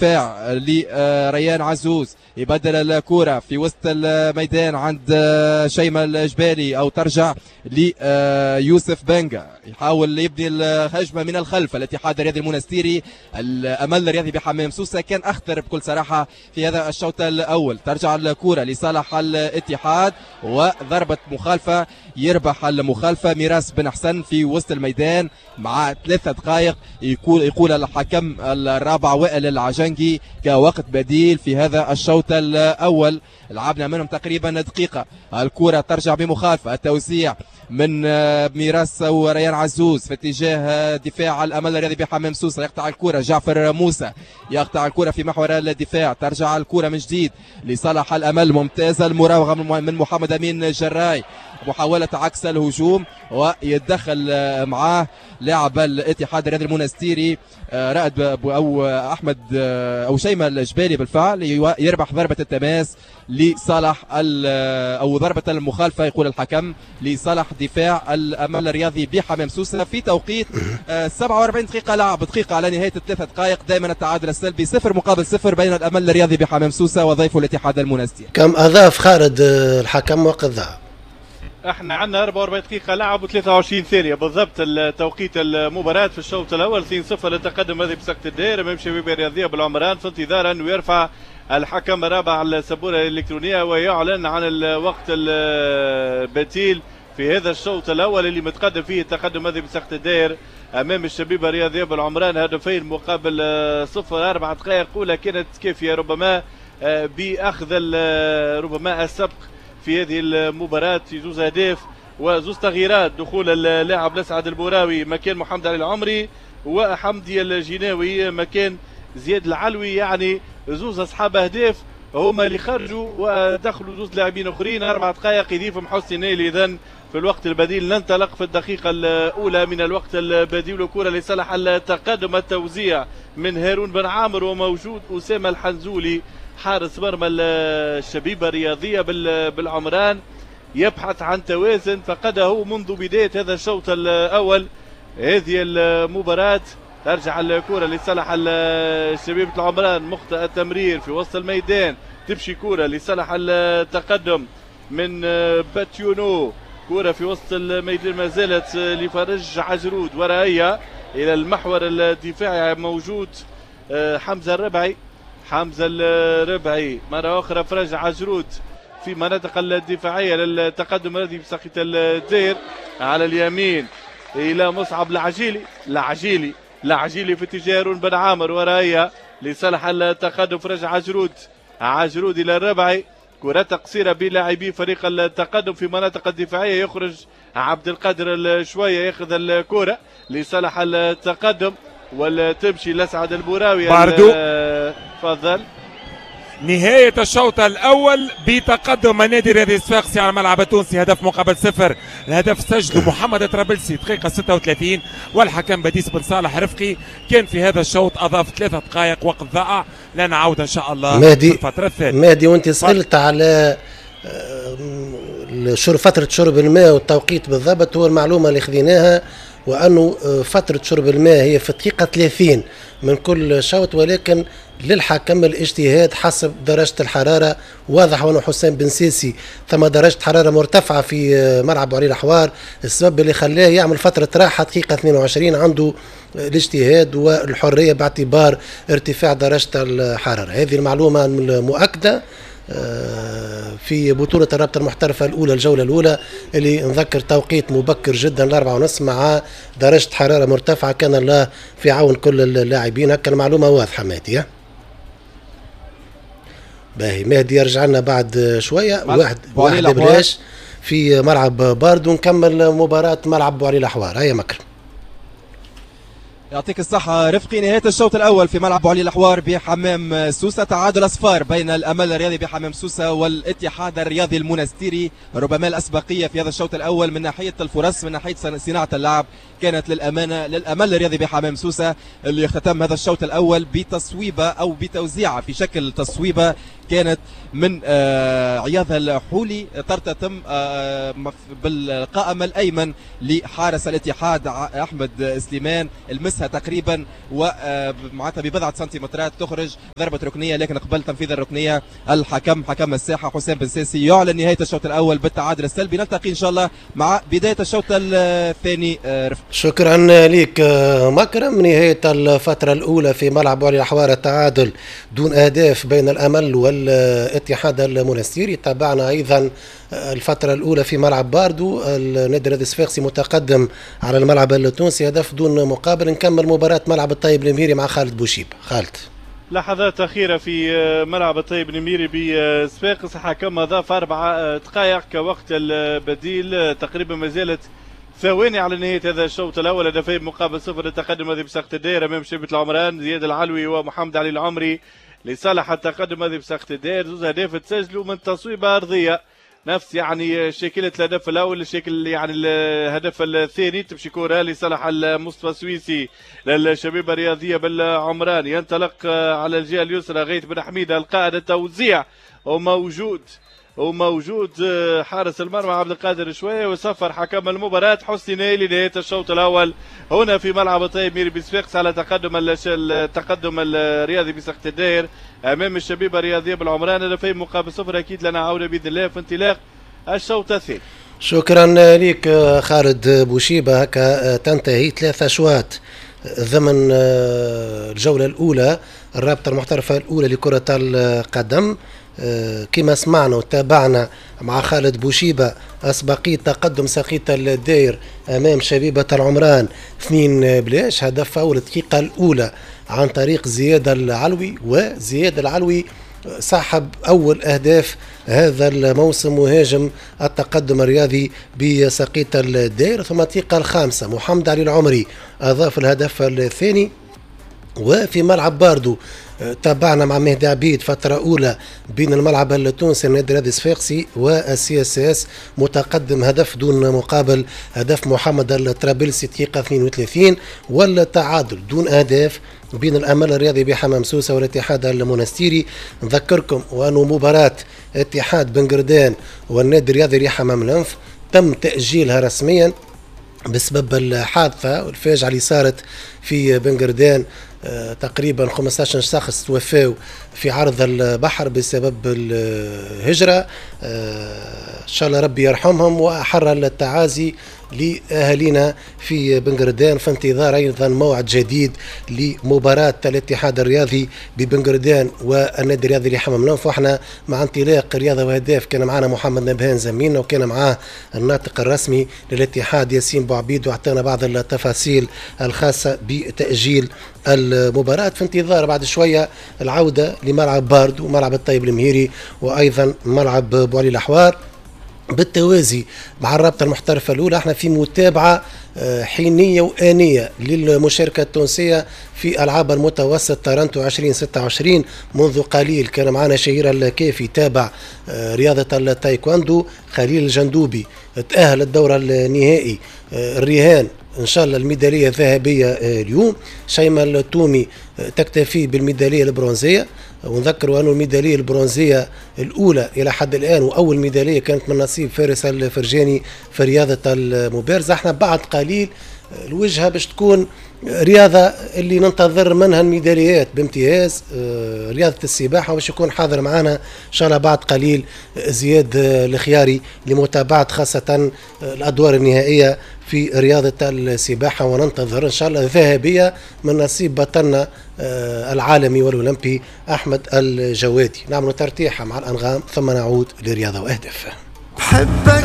الدفاع لريان عزوز، يبدل الكرة في وسط الميدان عند شيماء الجبالي أو ترجع ليوسف بنجا، يحاول يبني الهجمة من الخلف. الاتحاد الرياضي المنستيري، الأمل الرياضي بحمام سوسة كان أخطر بكل صراحة في هذا الشوط الأول. ترجع الكرة لصالح الاتحاد وضربة مخالفة، يربح المخالفة ميراس بن حسن في وسط الميدان مع 3 دقائق. يقول الحكم الرابع وائل العجنجي كوقت بديل في هذا الشوط الأول، لعبنا منهم تقريبا دقيقة. الكرة ترجع بمخالفة، التوزيع من ميراس وريان عزوز في اتجاه دفاع الأمل الرياضي بحمام سوسة، يقطع الكرة جعفر موسى، يقطع الكرة في محور الدفاع، ترجع الكرة من جديد لصالح الأمل. ممتازة المراوغة من محمد أمين جراي، محاولة عكس الهجوم ويتدخل معاه لاعب الاتحاد الرياضي المنستيري رائد أو أحمد أو شيماء الجبالي بالفعل، يربح ضربة التماس لصالح أو ضربة المخالفة يقول الحكم لصالح دفاع الأمل الرياضي بحمام سوسة في توقيت 47 دقيقة لعب، دقيقة على نهاية 3 دقائق. دائما التعادل السلبي 0-0 بين الأمل الرياضي بحمام سوسة وضيفه الاتحاد المنستيري. كم أضاف خالد الحكم وقت ذهب؟ احنا عندنا 44 دقيقة لعب و23 ثانية بالضبط التوقيت المباراة في الشوط الأول. 2-0 للتقدم هذه بسكت الدائرة أمام شبيبة الرياضية بالعمران، في انتظار أنه يرفع الحكم الرابع السبورة الإلكترونية ويعلن عن الوقت البديل في هذا الشوط الأول اللي متقدم فيه التقدم هذه بسكت الدائر أمام الشبيبة الرياضية بالعمران 2-0. 4 دقائق أولى كانت كافية ربما بأخذ ربما السبق في هذه المباراة في 2 أهداف وزوز تغييرات، دخول اللاعب لسعد البوراوي مكان محمد علي العمري وحمدي الجناوي مكان زياد العلوي، يعني زوز أصحاب أهداف هما اللي خرجوا ودخلوا زوز لاعبين أخرين. 4 دقائق يضيفهم حسني نايلي. إذن في الوقت البديل ننطلق في الدقيقة الأولى من الوقت البديل، وكرة لصالح التقدم، التوزيع من هارون بن عامر وموجود أسامة الحنزولي حارس مرمى الشبيبة الرياضية بالعمران، يبحث عن توازن فقده منذ بداية هذا الشوط الأول. هذه المباراة ترجع الكرة لصالح الشبيبة العمران، مخطئ التمرير في وسط الميدان، تمشي كرة لصالح التقدم من باتيونو، كرة في وسط الميدان ما زالت لفرج عجرود، ورائية إلى المحور الدفاعي موجود حمزة الربعي، حمزة الربعي مرة أخرى فرج عجرود في مناطق الدفاعية للتقدم الذي بساقية الدير على اليمين إلى مصعب العجيلي، العجيلي العجيلي في اتجاه هارون بن عامر، ورائية لصالح التقدم فرج عجرود، عجرود إلى الربعي، كرة قصيرة بلاعبي فريق التقدم في مناطق الدفاعية، يخرج عبد القادر شوية ياخذ الكرة لصالح التقدم وتمشي لسعد البوراوي. باردو تفضل. نهاية الشوط الأول بتقدم النادي الرياضي الصفاقسي على الملعب التونسي 0-0. الهدف سجله محمد طرابلسي دقيقة 36، والحكم بديس بن صالح رفقي كان في هذا الشوط أضاف 3 دقائق وقت ضائع. لنا عودة إن شاء الله مهدي في الفترة الثانية. مهدي وأنت سألت على فترة شرب الماء والتوقيت بالضبط، هو المعلومة اللي خذيناها وأنه فترة شرب الماء هي في الدقيقة 30 من كل شوط، ولكن للحكم الاجتهاد حسب درجة الحرارة. واضح أنه حسام بن سيسي ثم درجة حرارة مرتفعة في ملعب علي الأحوار، السبب اللي خلاه يعمل فترة راحة دقيقة 22، عنده الاجتهاد والحرية باعتبار ارتفاع درجة الحرارة. هذه المعلومة المؤكدة في بطولة الرابطة المحترفة الأولى الجولة الأولى اللي نذكر توقيت مبكر جدا 4:30 مع درجة حرارة مرتفعة، كان الله في عون كل اللاعبين. هكا المعلومة واضحة مهدي. باهي مهدي يرجع لنا بعد شوية واحد بلاش في ملعب باردو ونكمل مباراة ملعب بوعلي الأحوار. هيا مكرم. يعطيك الصحة رفقي. نهاية الشوط الأول في ملعب بوعلي الأحوار بحمام سوسة، تعادل أصفار بين الأمل الرياضي بحمام سوسة والاتحاد الرياضي المنستيري. ربما الأسبقية في هذا الشوط الأول من ناحية الفرص، من ناحية صناعة اللعب، كانت للأمانة للأمل الرياضي بحمام سوسة اللي اختتم هذا الشوط الأول بتصويبة أو بتوزيعة في شكل تصويبة كانت من عياض الحولي ترتطم بالقائم الأيمن لحارس الاتحاد أحمد سليمان. المس يلمسها تقريبا ومعناتها ببضعه سنتيمترات تخرج ضربه ركنيه. لكن قبل تنفيذ الركنيه الحكم حكم الساحة حسام بن ساسي يعلن نهاية الشوط الاول بالتعادل السلبي. نلتقي ان شاء الله مع بداية الشوط الثاني. رفق شكرا لك مكرم. نهاية الفترة الاولى في ملعب بوعلي الحوار، التعادل دون اهداف بين الامل والاتحاد المونستيري. تابعنا ايضا الفترة الاولى في ملعب باردو، النادي الرياضي الصفاقسي متقدم على الملعب التونسي هدف دون مقابل. نكمل مباراة ملعب الطيب المهيري مع خالد بوشيب. خالد، لحظات أخيرة في ملعب الطيب المهيري بصفاقس، حكم أضاف 4 دقائق كوقت البديل، تقريبا ما زالت ثواني على نهاية هذا الشوط الأول. هدفين مقابل صفر للتقدم هذه بساقة الدائرة أمام شبيبة العمران، زياد العلوي ومحمد علي العمري لصالح التقدم هذه بساقة الدائرة. زوز أهداف تسجلوا من تصويبة أرضية، نفس يعني شكلة الهدف الاول، شكل يعني الهدف الثاني، تمشي كرة لصالح المصطفى السويسي للشبيبه الرياضية بالعمران، ينطلق على الجهة اليسرى غيث بن حميده القائد، التوزيع وموجود حارس المرمى عبد القادر شوية، وصفر حكم المباراة حسني نايلي نهاية الشوط الاول هنا في ملعب الطيب ميري بصفاقس على التقدم الرياضي بساقة الدائر امام الشبيبة الرياضية بالعمران، هدفين مقابل صفر. اكيد لنا عوده باذن الله في انطلاق الشوط الثاني. شكرا لك خالد بوشيبه. هكا تنتهي 3 اشواط ضمن الجولة الاولى الرابطة المحترفه الاولى لكرة القدم. كما سمعنا وتابعنا مع خالد بوشيبة أسبقية تقدم ساقية الداير أمام شبيبة العمران 2-0، هدف أول الدقيقة الأولى عن طريق زياد العلوي، وزياد العلوي صاحب أول أهداف هذا الموسم مهاجم التقدم الرياضي بساقية الداير. ثم الدقيقة الخامسة محمد علي العمري أضاف الهدف الثاني. وفي ملعب باردو تابعنا مع مهدي عبيد فترة أولى بين الملعب التونسي النادي الرياضي الصفاقسي وال CSS متقدم هدف دون مقابل، هدف محمد الطرابلسي دقيقة 32، والتعادل دون أهداف بين الأمل الرياضي بحمام سوسة والاتحاد المونستيري. نذكركم وأنه مباراة اتحاد بنقردان والنادي الرياضي لحمام الأنف تم تأجيلها رسميا بسبب الحادثة والفاجعة اللي صارت في بنقردان، تقريبا 15 شخص توفاوا في عرض البحر بسبب الهجرة. إن شاء الله ربي يرحمهم وأحر التعازي لأهالينا في بنقردان، في انتظار أيضا موعد جديد لمباراة الاتحاد الرياضي ببنقردان والنادي الرياضي لحمام الأنف. واحنا مع انطلاق رياضة وهداف كان معنا محمد نبهان زميلنا، وكان معاه الناطق الرسمي للاتحاد ياسين بوعبيد، واعطانا بعض التفاصيل الخاصة بتأجيل المباراة. في انتظار بعد شوية العودة لملعب باردو وملعب الطيب المهيري وأيضا ملعب بوعلي الأحوار بالتوازي مع الرابطة المحترفة الأولى. احنا في متابعة حينية وآنية للمشاركة التونسية في ألعاب المتوسط تورنتو 2026. منذ قليل كان معنا شهير الكافي تابع رياضة التايكواندو، خليل الجندوبي تأهل الدور النهائي، الرهان إن شاء الله الميدالية الذهبية اليوم. شيماء التومي تكتفي بالميدالية البرونزية، ونذكروا أن الميدالية البرونزية الأولى إلى حد الآن وأول ميدالية كانت من نصيب فارس الفرجاني في رياضة المبارزة. احنا بعد قليل الوجهة باش تكون رياضة اللي ننتظر منها الميداليات بامتياز، رياضة السباحة، باش يكون حاضر معنا إن شاء الله بعد قليل زياد الخياري لمتابعة خاصة الأدوار النهائية في رياضة السباحة، وننتظر إن شاء الله ذهبية من نصيب بطلنا العالمي والأولمبي أحمد الجوادي. نعمل ترتيحة مع الأنغام ثم نعود لرياضة وأهداف. بحبك.